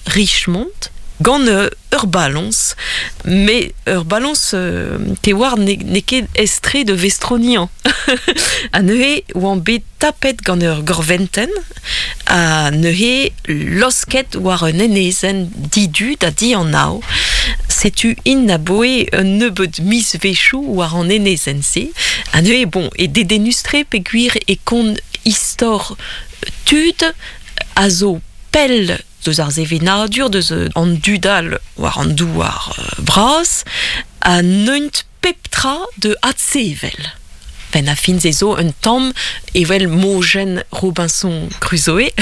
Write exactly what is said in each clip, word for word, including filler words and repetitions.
Richmond, gant euh, ur balance, mais ur balance euh, te war ne, ne ket estre de vestronian. A neuze oan bet tapet gant ur gorventen, a neuze losket war un enezen didu da di an nao. Setu in a boe un nebeud mis vechou war an enezen se. A neuze, bon, e dedenustre pe gwir e kont istor tud a zo pell deus ar zevenadur, deus an dudal war an douar bras, a neunt pep tra de adsevel. Ben a fin ze zo un tamm evel mojen Robinson Crusoe,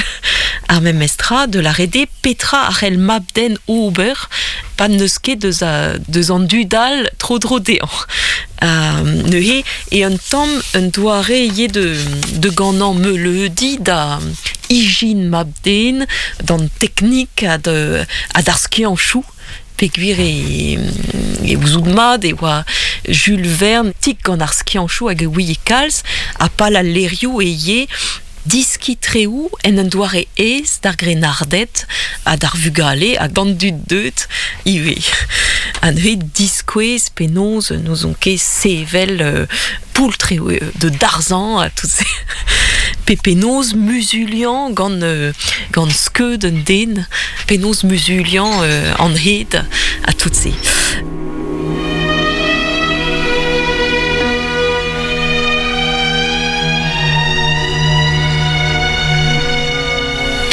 ar memestra de la rede petra ar el mabden ober pa neus ket deus, a, deus an dudal tro dro dean. Uh, neuze e un tamm un doare ye de, de gant meuleudi da ijin mabden, d'an teknik a de, a d'ar skianchou, pegwir e, e ouzout mat e oa Jules Verne tik gant ar skianchou hag e ouie kalz a pal al lerioù e ye diski treou en un doare ez d'ar grenardet ha d'ar vugale hag d'an dud deut iwe. A neuze diskouez penaos nous on ket sevel euh, poultre de darzan a tout se. Pe penaos muzulian gant, euh, gant skeud un den, penaos muzulian euh, an hed a tout se.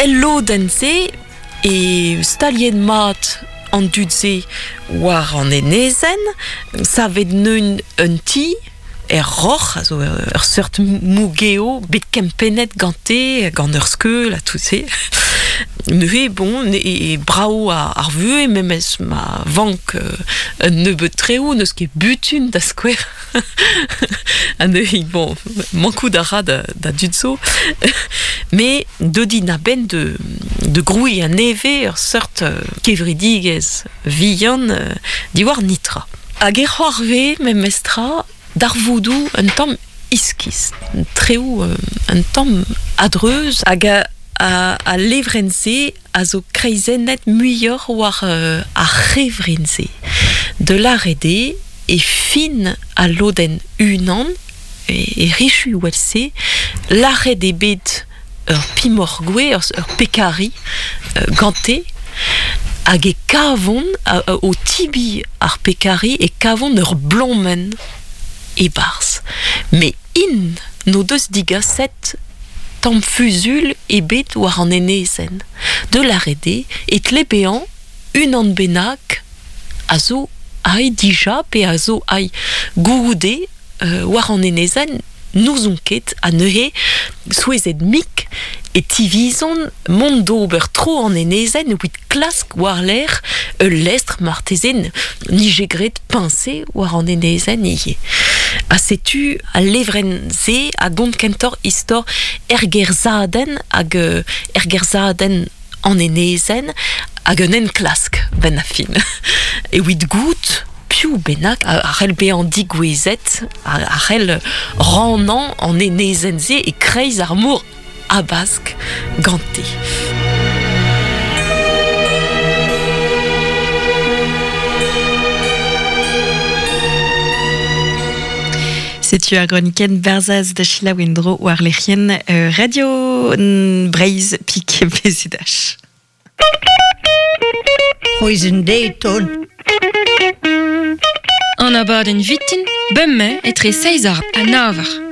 El lodenn-se e stalien mat an dud-se war an enezen, savet neun un ti, er roc'h, a zo ur seurt mougeo, bet kempennet gante, gant ur skeul, a tout se. Neuze, bon, e, e brao a, ar vue, memes ma vank euh, un nebeud treo, neus ket butun da skouer. A neuze, bon, mankout a ra da, da dud zo. Mais deudi na ben de, de groui a neve ur seurt euh, kevridigez vihan euh, diwar nitra. Hag e c'hoarve, memestra, d'ar voudou un tamm iskis, un treo, un tamm adreuz, hag a, a, a levren-se a zo kreizennet muioc'h war euh, ar c'hevrin-se. De la rede e fin a loden unan, e, e richu wel-se, l'arret e bet ur pimorgwe, ur, ur pekari, euh, gante, hag e kavon, a, a, o tibi ar pekari, e kavon ur blommen e barz. Mais in no deus digaset tamm fuzul e bet war an enezen. De la rede e tlebean unan bennak a zo ai dija pe a zo ai goude euh, war an enezen n'ouzon ket a neuze souezet mik e tivizon mont d'ober tro an enezen evit klask war l'air ul lestr martezen nijegret piñse war an enezen ivez. A setu a levren-se a gont kentor istor ergerzaden hag ergerzaden an enezen hag un enklask ben a fin. Evit gout piou bennak a c'hell bezañ digouezet, a c'hell rannañ an enezen-se e kreiz ar mor abask gante. Setu ar groniken Barzaz da Sheila Wendro war lec'hien euh, Radio Breizh Pik Bezidach. C'hwezh deiton. An abadenn vitin, bemmañ etre seizh ar ha nav eur.